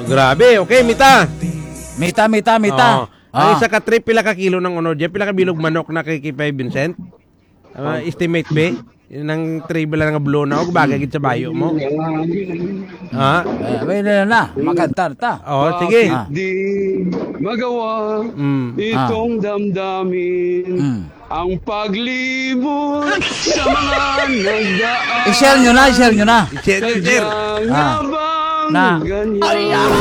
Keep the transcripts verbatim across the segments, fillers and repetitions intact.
Grabe, okay, mita. Mita, mita, mita. Oo. Ang Ah. isa ka trip, pila ka kilo ng unod dyan? Pila ka bilog manok na kay Kipay Vincent? Ah, estimate, be? Yun ang trip lang nga blow na, o bagay gid sa bayo mo. Ha? Eh, may na na, makantar ta. Oh, sige. Ah. Di magawa Mm. Ah. itong damdamin. Mm. Ang paglimot sa mga nagdaan. I-share nyo na, i-share nyo na. I-share, i-share. Kaya nga Ah. bang Na. ganyan?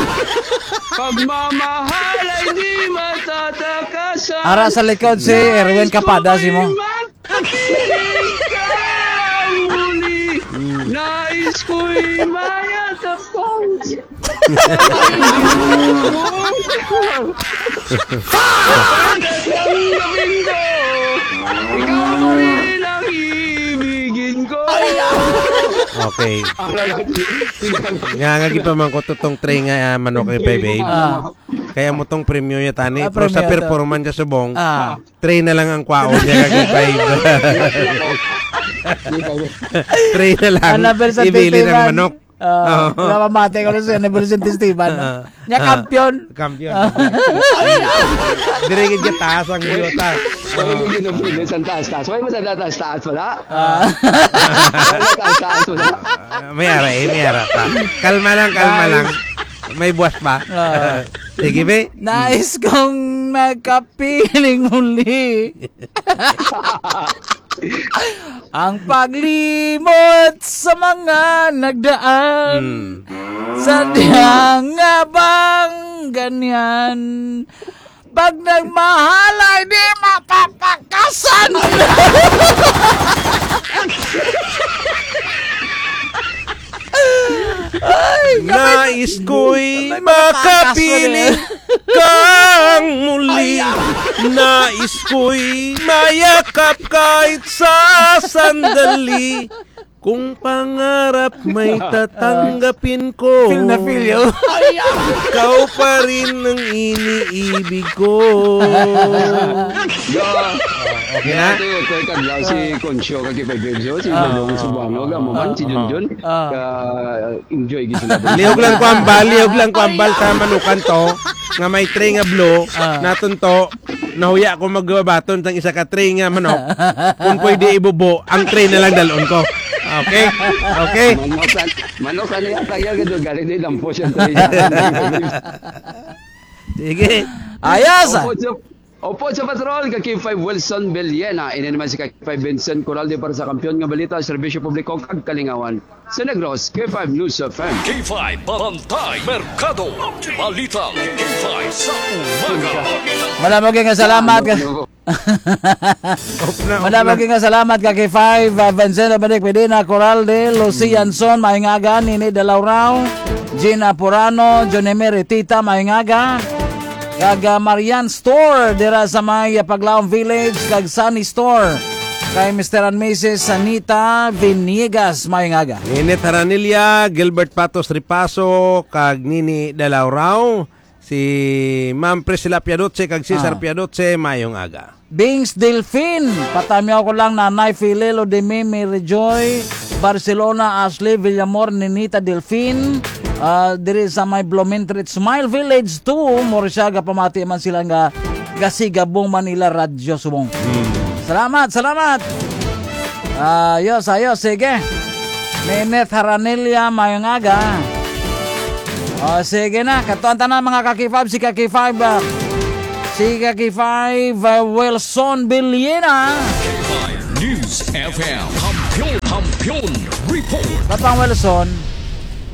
Pagmamahal ay di matatakasan. Ara sa likod si Erwin Kapadas, imo. Nais ko ba'y magkapiling ka muli? Nais ko'y mayakap ka. Ikaw pa rin ang ibigin ko. Okay. Nga, nga, gipamangkot to tong tray nga, ah, manok ni Bebe. Ah. Kaya mo tong premyo niya, tani. Ah, Pero sa premyo to. performance niya subong, Ah. tray na lang ang kwaon niya, kag five. Tray na lang. Ang number sa Ibili ng titiman. manok. Ah, Oo. wala mamati ko sa number sa testiban. Ah. Niya Ah. kampiyon. Kampiyon. Ah. Dire gid ka taas ang yuta. Wala mo ginugin sa taas-taas. Wala mo sa taas-taas, wala? Ah. Wala taas-taas, wala? Ah, may ara, eh, may ara pa. Kalma lang, kalma Nice. lang. May buwas pa. Ah. Sige, be. Nais kong makapiling muli. Ang paglimot sa mga nagdaan. Mm. Sadya nga bang ganyan? Pag nagmahal ay di mapapakasan. Ay, Nais ko'y May makapiling makapiling kang muli. Ay, ah. Nais ko'y mayakap kahit sa sandali. Kung pangarap may tatanggapin ko. Feel na feel, yo. Ikaw pa rin ang iniibig ko. Yeah. Okay na? Ito, ito, ito, ito, si Concho, kag kay Bebs, oh, si Ah. Dodong Subango, amo man, si Ah. Junjun. Ah. Ka-enjoy gid sila. Lihog lang ko ambal, lihog lang ko ambal sa manukan to, nga may tray nga blue, Ah. naton to, nahuya ko magbaton sang isa ka tray nga manok. Kung pwede ibubo, ang tray na lang dalon ko. Okay? Okay? Manok, manok, ano yata yan? Galing din ang po siya, tray. Sige. Ayos, ah. Opo, Opo, sa patrol, ka K five Wilson Villena. Ini naman si ka K five Vincent Coralde para sa Kampiyon nga Balita, Serbisyo Publiko, kag Kalingawan sa Negros, K five News F M. K five Barangay Merkado. Balita K five sa umaga. Madamo kay nga salamat ka. Off na, off Madamo na. kay nga salamat ka K five, uh, Vincent Dominic Medina, Coralde, Lucy Yanson, maayong aga, Nini Dalaurao, Jean Apurano, Johnny Meritita, maayong aga. Kag, ah, Marian Store dira sa may, ah, Paglaom Village, kag Sunny Store kay Mister and Missus Sanita Vinigas. Maayong aga. Ninit Haranilla, Gilbert Patos Ripaso, kag Nini Dalaurao, si Ma'am Priscilla Piadoce, kag Cesar Ah. Piadoce, maayong aga. Bings Delfin, patamyaw ko lang, Nanay Filelo de Mimi Rejoy, Barcelona, Ashley Villamor, Ninita Delfin, ah, diri sa may Blumentritt Smile Village two, Murcia, gapamati man sila nga gasigabong Manila Radyo Subong. Hmm. Salamat, salamat. Ayos, ayos, sige. Ninit Haranilla, maayong aga. O, sige na. Katuan tanan, mga ka K five, si ka K five, ah, si ka K five, ah, Wilson Villena. K five News F M. Kampiyon, Kampiyon Report. Kapang Wilson.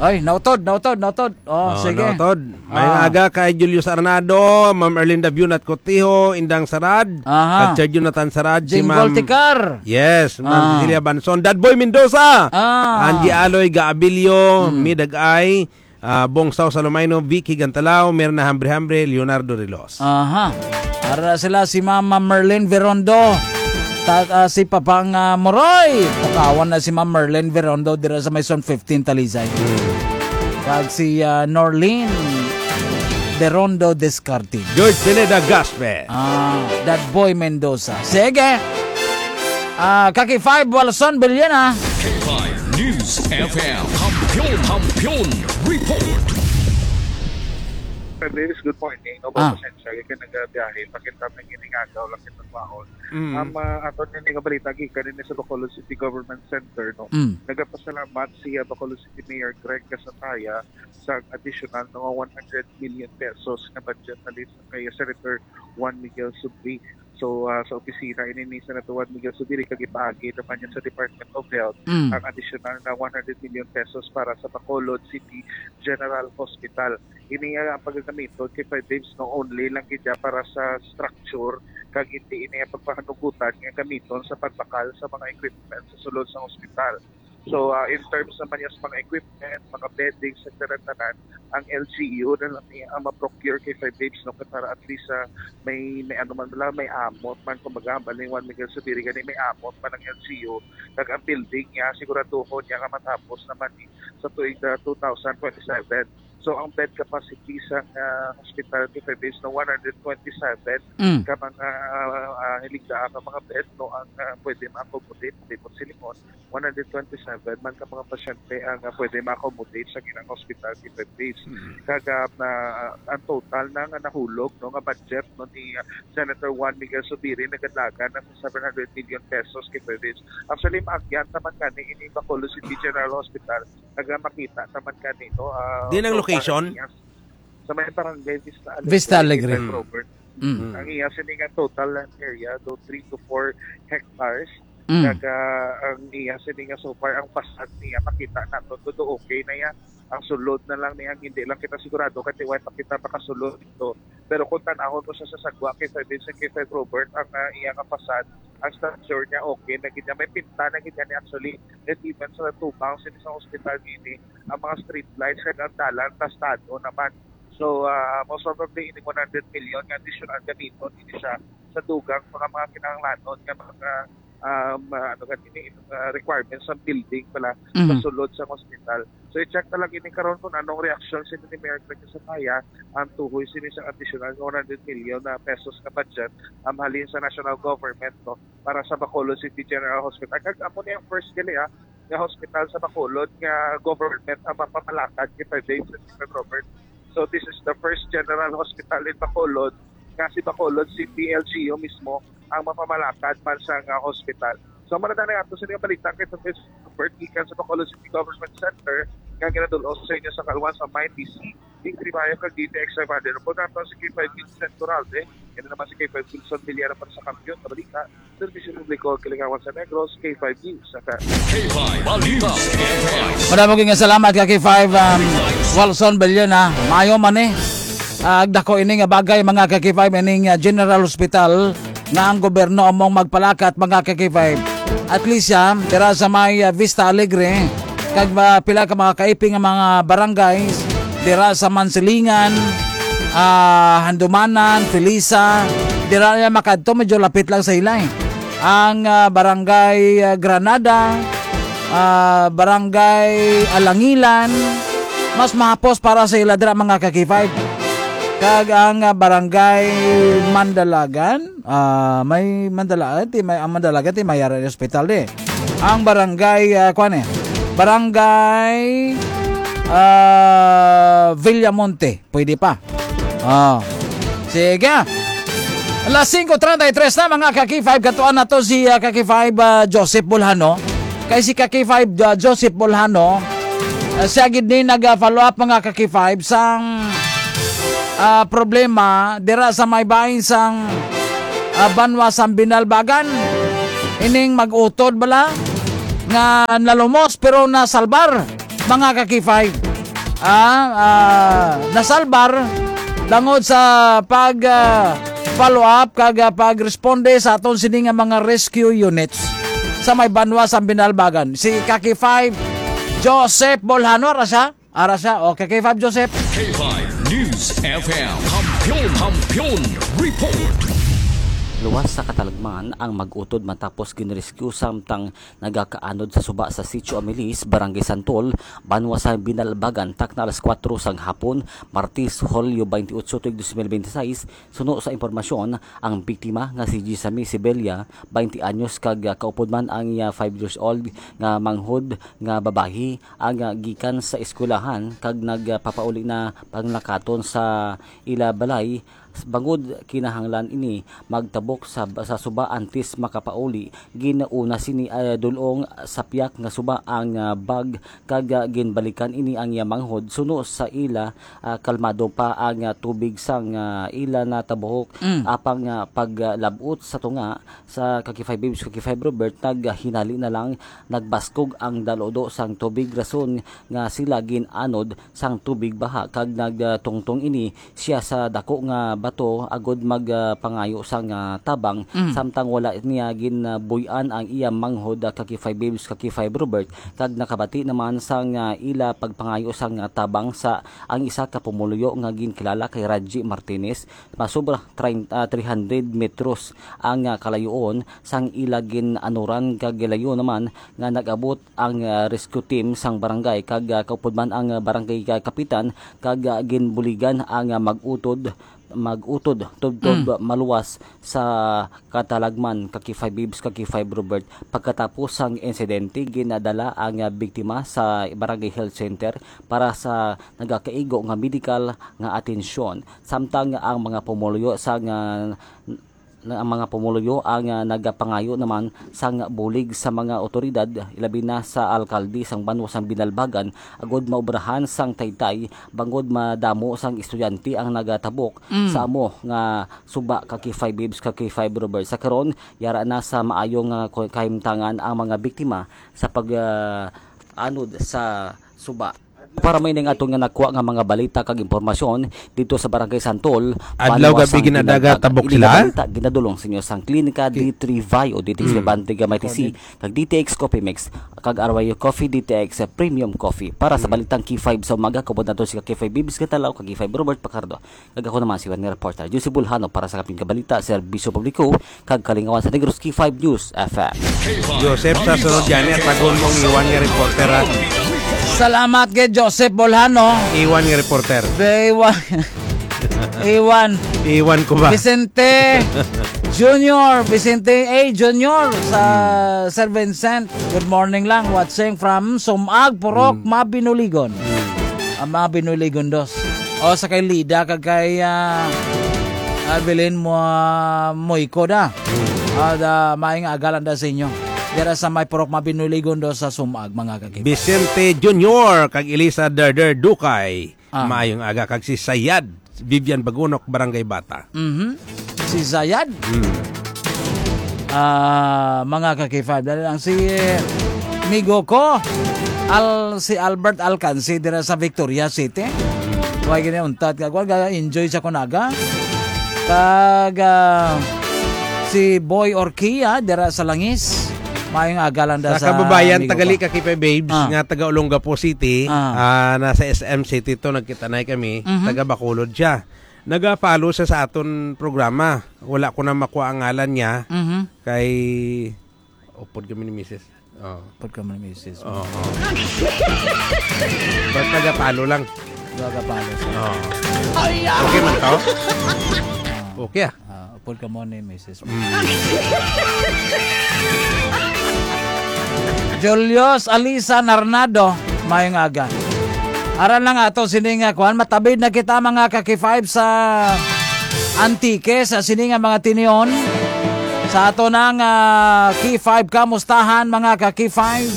Ay, nautod, nautod, nautod. Oh, Oh, sige. nautod. May Ah. aga kay Julius Arnado, Ma'am Erlinda Biunat Cotijo, Indang Sarad, Aha. kag Sir Jonathan Sarad, si Jingle Ma'am Tikar. Yes, Ma'am Ah. Cecilia Banson, Dadboy Mendoza, Ah. Angie Aloy Gaabilio, Hmm. Midag Ay, ah, Bong Sao Salomaino, Vicky Gantalao, Mirna Hambre-Hambre, Leonardo Rilos. Aha. Ara sila si Mama Merlin Verondo. Ta-, ah, si Papang, ah, Moroy. Takawan na si Ma'am Merlin Verondo dira sa may Zone fifteen Talisay. Hmm. Kag si, ah, Norlene Verondo Descartin. George Pineda Gaspe. Ah, That Boy Mendoza. Sige. Ah, Kaki Five, Walson Villena. K five News F M. Kampiyon, Kampiyon Report. Davis, good morning. No, Ah. Pasensya, kay nagabiyahe, pakita na giningaga, wala kita kwaon. Mm. Ang, ah, ato na nga balita, gikan din sa Bacolod City Government Center, no? Mm. Nagapasalamat si, ah, Bacolod City Mayor Greg Casataya sa additional, no, one hundred million pesos na budget na kay Senator Juan Miguel Subiri. So, ah, sa opisina ini ni Senator Juan Miguel Subiri, kag ipaagi naman niya sa Department of Health Mm. ang additional na one hundred million pesos para sa Bacolod City General Hospital. Ini, ah, ang pagagamiton kay five waves, no, only lang gid siya para sa structure, kag hindi ini ang pagpahanugutan nga gamiton sa pagbakal sa mga equipment sa sulod sa hospital. So, ah, in terms naman niya sa mga equipment, mga bedding, sa tanan-tanan, ang L G U na lang niya ang ma-procure kay five waves, no, kay para at least, ah, may, may ano man lang, may amot man, kumbaga, ang baling Juan Miguel Subiri gani, may amot man ang L G U, kag ang building niya, siguraduhon niya nga matapos naman ni sa tuig, ah, two thousand twenty-seven. So, ang bed capacity sa, ah, hospital kay five waves na one hundred twenty-seven Mm. ka mga, ah, ah, hiligdaan nga mga bed, no, ang, ah, pwede ma-accommodate, di mo silingon, one hundred twenty-seven man ka mga pasyente ang, ah, pwede ma-accommodate sa ginang hospital kay five waves. Mm. Kag, ah, na, ang total na nga nahulog, no, nga budget, no, ni, ah, Senator Juan Miguel Subiri nagadlagan na sa seven hundred million pesos kay five waves. Actually, maagyan naman gani ini Bacolod City General Hospital, naga makita naman gani, no, ah, Di nang so, location? parang yes. Sa may barangay Vista Alegre, Vista Alegre. San Robert. Mm. Ang iya sini nga total land area do three to four hectares. Mm. Kag, ah, ang iya sini nga so far ang facade niya makita nato todo okay na ya. Ang sulod na lang niya, hindi lang kita sigurado kay way pa kita makasulod dito. Pero kung tanahon mo sa sasagwa kay five Vincent, kay five Robert, ang, ah, iya nga facade, ang structure niya okay na gid niya. May pinta na gid niya ni actually. It even sa tubang sini sa hospital gini, ang mga street lights kag ang dalan tastado naman. So, ah, most probably, ini one hundred million nga additional gamiton ini siya sa dugang mga, mga kinahanglanon nga mga, um, ah, ano gani ni, ah, requirements sa building pala sa Mhm. sulod sa hospital. So, i-check na lang ini karon kung anong reaksyon sini ni Mayor Craig Casataya ang tuhoy sini sa additional nga one hundred million na pesos nga budget, um, halin sa national government, no, para sa Bacolod City General Hospital. Kag amo ni ang first gali, ah, nga hospital sa Bacolod nga government ang mapamalakad kay five Vincent, Robert. So, this is the first general hospital in Bacolod nga si Bacolod City L G U mismo ang mapamalakad man sa nga hospital. So, mao na nga ato sa nga balita kay Robert gikan sa Bacolod City Government Center nga ginadul-ong sa inyo sa kalwan sa May P C. Victory Bayo kag D T X five hundred. Reporter nato si K five Vincent Turalde. Yan naman si K five Wilson Villar para sa Kampiyon nga Balita. Serbisyo Publiko, Kilingawan sa Negros, K five News. Sa K five Balita. Madamo gyud nga salamat ka K five, um, Wilson Villar na. Maayo man eh. Ah, dako ini nga bagay, mga ka K five, ining, ah, General Hospital nga ang gobyerno among magpalakat, mga ka K five. At least, ah, dira sa may, ah, Vista Alegre, kag, ah, pila ka mga kaiping nga mga barangays, dira sa Mansilingan, ah, Handumanan, Felisa, dira na makadto, medyo lapit lang sa ila, eh. Ang, ah, Barangay, ah, Granada, ah, Barangay Alangilan, mas mahapos para sa ila dira, mga ka K five. Kag ang, ah, Barangay Mandalagan, ah, may Mandalagan, ti may, ang Mandalagan, ti may ara ni hospital di. Ang Barangay, ah, kuwan eh, Barangay, ah, Villamonte, pwede pa. Oh. Sige. Alas singko treinta y tres na, mga ka K five. Katuan nato si, ah, ka K five, ah, Joseph Bolhano. Kay si ka K five, ah, Joseph Bolhano, ah, siya gid ni nag-follow up, mga ka K five, sang, ah, problema dira sa may bahin sang, ah, banwa sang Binalbagan. Ining mag-utod bala nga nalumos pero nasalbar, mga ka K five. Ah, ah, nasalbar tungod sa pag, ah, follow up kag, ah, pagresponde sa aton sini nga mga rescue units sa may banwa sang Binalbagan. Si ka K five Joseph Bolhano, ara siya? Ara siya. Okay, ka K five Joseph. K five News F M. Kampiyon, Kampiyon Report. Luwas sa katalagman ang mag-utod matapos ginrescue samtang nagakaanod sa suba sa Sitio Amilis, Barangay Santol, banwa sa Binalbagan, takna alas kuwatro sang hapon, Martes, Hulyo twenty-eight, tuig dos mil benti seis. Suno sa impormasyon, ang biktima nga si Gisami Sibelia, twenty anyos, kag, ah, kaupod man ang iya five years old nga manghod nga babayi, ang, ah, gikan sa eskwelahan kag nagpapauli na panglakaton sa ila balay. Bangod kinahanglan ini magtabok sa, sa suba antes makapauli, ginauna sini, ah, dul-ong sa piyak nga suba ang, ah, bag, kag, ah, ginbalikan ini ang iya manghod suno sa ila, ah, kalmado pa ang, ah, tubig sang, ah, ila natabuhok. Mm. Apang, ah, paglab-ot sa tunga sa Kaki Five Babes, Kaki Five Robert, naghinali na lang nagbaskog ang daludo sang tubig, rason nga sila gin-anod sang tubig baha kag nagtungtong ini siya sa dako nga bato agud mag, ah, pangayo sang, ah, tabang. Mm. Samtang wala niya ginbuy-an ang iya manghod, ah, Kaki Five Babes, Kaki Five Robert, kag nakabati naman sang, ah, ila pagpangayo sang, ah, tabang sa ang isa ka pumuluyo nga ginkilala kay Raji Martinez. Masobra treinta, ah, three hundred metros ang, ah, kalayoon sang ila gin-anuran kag gilayo naman nga nag-abot ang, ah, rescue team sang barangay kag, ah, kaupod man ang, ah, barangay ka-, kapitan kag, ah, ginbuligan ang, ah, mag-utod, mag-utod tubtob Mm. maluwas sa katalagman, Kaki Five Babes, Kaki Five Robert. Pagkatapos sang insidente, ginadala ang, ah, biktima sa Barangay Health Center para sa nagakaigo nga medikal nga atensyon. Samtang ang mga pumuluyo sa nga na ang mga pumuluyo ang, ah, nagapangayo naman sang bulig sa mga otoridad, ilabi na sa alkalde sang banwa sang Binalbagan, agud maobrahan sang taytay bangod madamo sang estudyante ang nagatabok Mm. sa amo nga suba, Kaki Five Babes, Kaki Five Robert. Sa karon, yara na sa maayo nga ko-, kahimtangan ang mga biktima sa pag, ah, anod sa suba. Para may ning aton nga nakuha nga mga balita kag impormasyon dito sa Barangay Santol, Adlaw, banwa gabi, sang ginadaga, Binalbagan. Tabok Ini sila. Nga balita ginadulong sa inyo sang Klinika Ki- D three Vi o D T X Mm. Bebante Gamay T C, kag D T X Coffee Mix, kag Arroyo Coffee, D T X Premium Coffee. Para sa Mm. balitang K five sa umaga, kaupod nato si K five Bibis Gatalaw, kag K five Robert Pacardo. Kag ako naman si Juan nga reporter, Juicy Bulhano, para sa Kapin Kabalita, Serbisyo Publiko, kag Kalingawan sa Negros, K five News F M. Joseph, sa sunod gani, tagon mo ang Iwan nga reporter, ha? Salamat kay Joseph Bolhano. Iwan nga reporter. Iwan. Iwan. Iwan ko ba? Vicente Junior, Vicente A Junior sa Hmm. Sir Vincent. Good morning lang. Watching from Sumag, Purok, Hmm. Mabinuligon. Hmm. Ah, Mabinuligon dos. O, sa kay Lida, kag kay, ah, Evelyn mo, ah, Moyko da. Hmm. Ah, da, maayong aga lang da sa inyo. Dira sa may Purok Mabinuligon dos sa Sumag, mga kakita. Vicente Junior, kag Elisa Derder Dukay. Ah. Maayong aga, kag si Sayad, Vivian Bagunok, Barangay Bata. Mhm. Si Zayad. Mm. Ah, mga ka-K five, dali lang. Si, eh, migo ko, Al-, si Albert Alcansi, dira sa Victoria City. Wala gini untat ka. Wala, enjoy sa kunaga. Kag, ah, si Boy Orquia, dira sa Langis. Maayong aga lang da Sa sa kababayan, amigo tagali ko. Ka K five Babes, Ah. nga taga Olongapo City, Ah. ah, nasa S M City to, nagkita na kami, Mhm. taga Bacolod siya. Naga-follow siya sa aton programa. Wala ko na makuha ang ngalan niya. Mhm. Kay, upod kami ni misis. Oh. Upod kami ni misis. Oo. Basta ga-follow lang. Ga-follow siya. Oo. Okay man to? Ah. Okay, ah. Ah, upod ka mo ni misis. Mm. Julius Alisa Narnado, maayong aga. Aran lang ato sini nga kuan, matabid na kita, mga ka-K five, sa Antique, sa sini nga mga tinion. Sa ato nang, ah, K five kamustahan, mga ka-K five.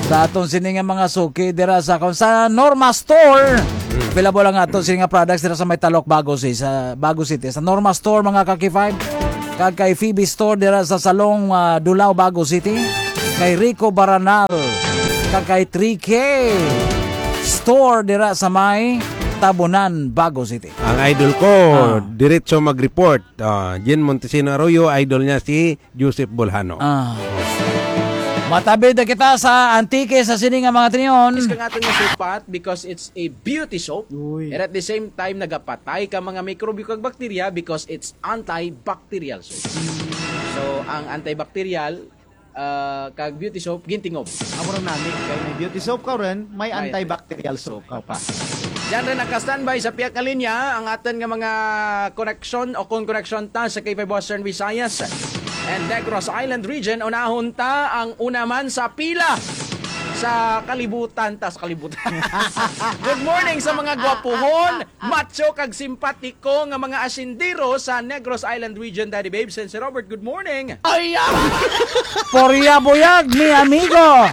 Sa aton sini nga mga suki dira sa, sa Norma Store. Mm. Available ang aton sini nga products dira sa may Talok, Bago City, sa Bago City. Sa Norma Store, mga ka-K five. Kag kay Phoebe Store dira sa Salong, ah, Dulao, Bago City. Kay Rico Baranal. Kag kay three K Store dira sa may Tabunan, Bago City. Ang idol ko, Ah. diretso mag-report. Ah, Jen Montesino Arroyo, idol niya si Joseph Bolhano. Ah. Matabid na kita sa Antique sa sini nga mga tinion. Is ka nga nga supat because it's a beauty soap. Uy. And at the same time, nagapatay ka mga mikrobyo kag bakterya because it's antibacterial soap. So, ang antibacterial, ah, kag beauty soap, gintingob. Amo ra nani, kay may beauty soap ka rin, may May antibacterial soap ka pa. Diyan rin naka-standby sa piyak nga linya ang aton nga mga koneksyon o kung koneksyon ta sa K five Western Visayas and Negros Island Region. Unahon ta ang una man sa pila sa kalibutan, ta sa kalibutan. Good morning sa mga gwapuhon, macho kag simpatiko nga mga asindero sa Negros Island Region, Daddy Babes and Sir Robert. Good morning. Ay, ah! Poria Buyag, mi amigo.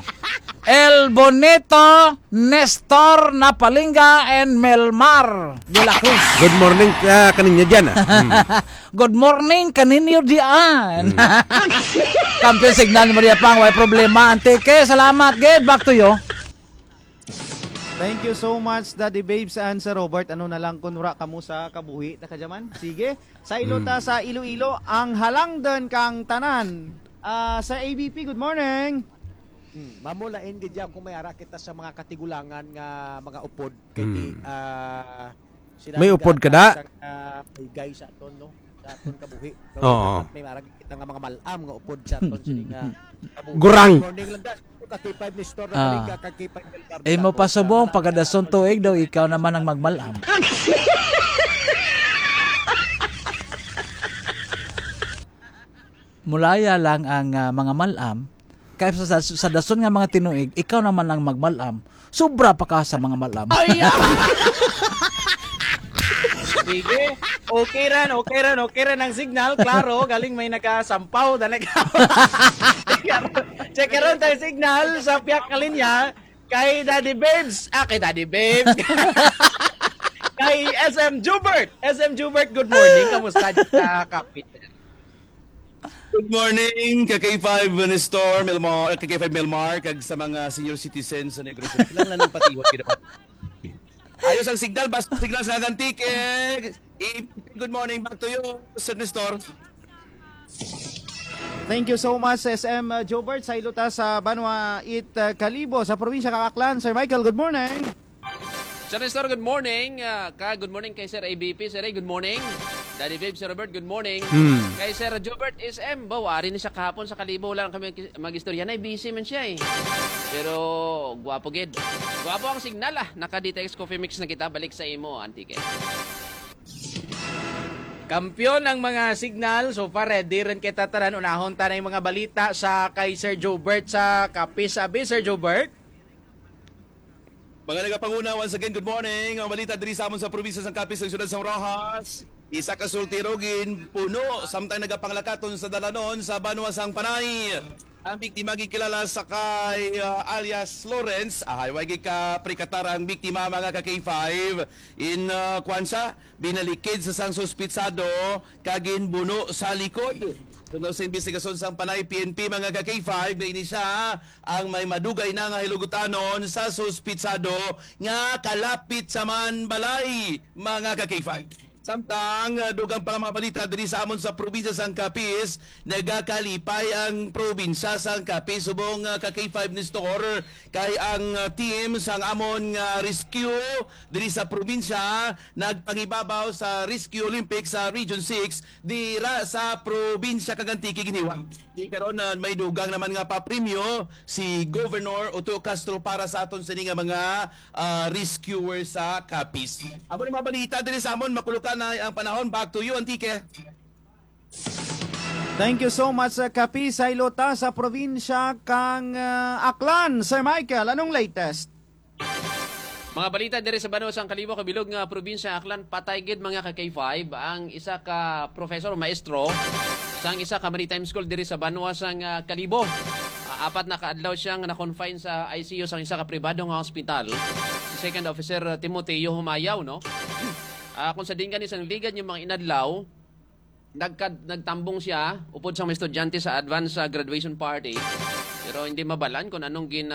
El Bonito, Nestor Napalinga, and Melmar de la Cruz. Good morning, ah, kaninyo dyan, ah. Hmm. Good morning kaninyo diyan. Hmm. Kampiyon signal ni Maria Pang, way problema. Antique, salamat. Good, back to you. Thank you so much, Daddy Babes and Sir Robert. Ano na lang kung wala kamo sa kabuhi, ta kadya man? Sige, sa ilo ta Mm. sa Iloilo, ang halangdan kang tanan. Ah, sa A B P, good morning. Hmm, mamulain gid ya kung may ara kita sa mga katigulangan nga mga upod. Kay di, Hmm. ah, sila May upod ka da? Sa, ah, paygay sa aton, no? Sa aton kabuhi. Oo. Dapat may ara kita nga mga malam nga upod sa aton sini nga kabuhi. Gurang. Morning lang, guys. Ka K five ni Store, Ah. Ka K five ni Store. Eh, mo pa subong, pagkadason tuig daw, ikaw naman ang magmalam. Mulaya lang ang, ah, mga malam, kay sa, sa, sa dason nga mga tinuig, ikaw naman ang magmalam. Sobra pa ka sa mga malam. Ay, ah! Sige. Okay ran, okay ran, okay ran ang signal. Klaro, galing may nakasampaw. Dali ka. Check karon tayo signal sa piyak nga linya. Kay Daddy Babes. Ah, kay Daddy Babes. Kay S M Jubert. S M Jubert, good morning. Kamusta ka, kapit? Good morning, ka K five Nestor, Melmar, ka K five Melmar, kag sa mga senior citizens sa Negros. Kailangan lang patihon, kinapat-, ayos ang signal, basta signal sa Antique. Eh, good morning back to you, Sir Nestor. Thank you so much, S M, uh, Jobert. Sa ilo ta sa Banwa it, uh, Kalibo, sa probinsya kang Aklan. Sir Michael, good morning. Sir Nestor, good morning. Ah, ka, good morning kay Sir A B P. Sir A, good morning. Daddy Viv, Sir Robert, good morning. Hmm. Kay Sir Jobert S M, ba, wari ni siya kahapon sa Kalibo. Wala lang kami mag-, mag-istorya na, busy man siya eh. Pero, gwapo gid. Gwapo ang signal ah. Naka-D T X Coffee Mix na kita. Balik sa imo, Antique. Kampiyon ang mga signal. So far, ready rin kita tanan. Unahon ta na yung mga balita sa kay Sir Jobert sa Capiz. Abi, Sir Jobert? Mga nagapanguna, once again, good morning. Ang balita diri sa amon sa probinsya sang Capiz, sa siyudad sang Roxas. Isa ka soltero ginpuno samtang nagapanglakaton sa dalanon sa banwa sang Panay. Ang biktima gikilala sa kay, ah, alias Lawrence. Ah, way gikaprikatar ang biktima, mga ka K five. In, ah, kwan siya, binalikid sa sang suspitsado kag ginbuno sa likod. Tungod sa investigasyon sang Panay P N P, mga ka K five, na ini siya ang may madugay na nga hilugutanon sa suspitsado nga kalapit sa man balay, mga ka K five. Samtang, ah, dugang pa nga mga balita diri sa amon sa probinsya sang Capiz, nagakalipay ang probinsya sang Capiz subong, ah, ka K five Nestor, kay ang, ah, team sang amon nga rescue diri sa probinsya nagpangibabaw sa Rescue Olympics sa Region six dira sa probinsya kag Antique ginhiwang. Di karon na may dugang naman nga papremyo si Governor Otto Castro para sa aton sini nga mga, ah, rescuer sa Capiz. Amo ni mga balita diri sa amon, makulukan na ang panahon. Back to you, Antique. Thank you so much, uh, Capiz. Sa ilo ta sa probinsya kang, uh, Aklan. Sir Michael, anong latest? Mga balita diri sa banwa sang Kalibo, kabilog nga probinsya Aklan, patay gid, mga ka K five, ang isa ka professor, maestro, sang isa ka maritime school diri sa banwa sang, ah, Kalibo. Ah, apat na ka adlaw siyang na-confine sa I C U sang isa ka pribado nga hospital. Si Second Officer Timoteo Humayaw, no? Ah, kung sa dinggan ni sang ligad yung mga inadlaw, nagkad-, nagtambong siya upod sa mga estudyante sa advance, ah, graduation party. Pero hindi mabalan kung anong gin-